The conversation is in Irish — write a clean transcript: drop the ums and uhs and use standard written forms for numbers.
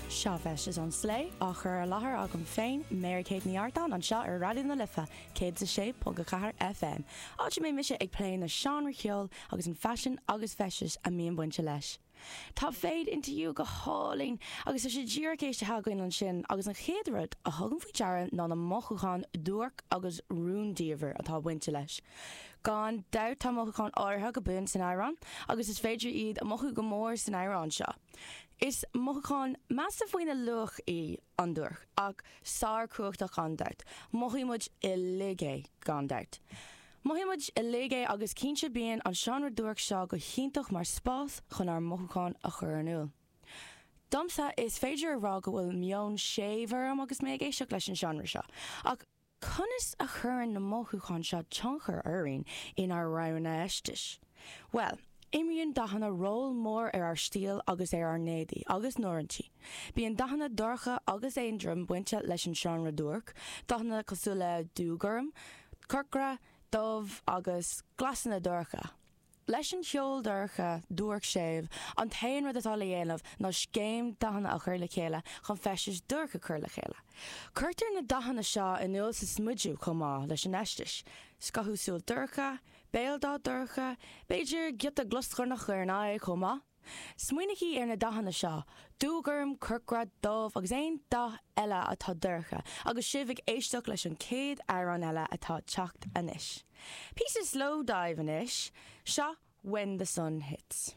Seo Feisteas ón Slé, á chur i láthair agam féin, Mary Kate Ní Artáin, anseo ar Raidió na Life 106.4 FM, áit a mbeidh mise ag plé na seánra cheoil agus an faisean agus feistis a mbíonn bainte leis. Tá Fade Into You go hálainn agus tá sé díreach éistithe againn ansin agus an chéad rud a thugaim faoi deara ná na mothúcháin duairc agus rúndiamhair atá bainte leis. Gan dabht tá mothúcháin áirithe go buan san amhrán agus is féidir iad a mothú go mór san amhrán seo. Is mothúchán measta faoina luach í an duairc ach sár-chumhachtach gan dabht. Mothaíonn muid uilig é gan dabht. Mothaíonn muid uilig é agus cinnte bíonn an seánra duairc seo go hiontach mar spás chun ár mothúcháin a chur in iúl. Domsa, is féidir a rá go bhfuil meon séimh orm agus mé ag éisteacht leis an seánra seo. Ach conas a chuireann na mothúcháin seo tionchar orainn inár roghanna feistis? Bhuel, imríonn dathanna ról mór ar ár stíl agus ar ár n-éadaí agus n-oiriúintí. Bíonn dathanna dorcha agus éadrom bainte leis an seánra duairc, dathanna cosúil le dúghorm, corcra, dubh agus glasanna dorcha. Leis an cheol dorcha, duairc séimh, an t-aon rud atá le dhéanamh ná scéim dathanna a chur le chéile chun feisteas duairc a chur le chéile. Cuirtear na dathanna seo in iúl sa smideadh chomh maith leis an fheisteas. Scothú súl dorcha, béaldath dorcha, b'fhéidir giota gloscornach ar an aghaidh chomh maith. Smaoinígí ar na dathanna seo, dúghorm, corcra, dubh agus aon dath eile atá dorcha, agus sibh ag éisteacht leis an chéad amhrán eile atá ag teacht anois. Píosa Slowdive anois, seo When the Sun Hits.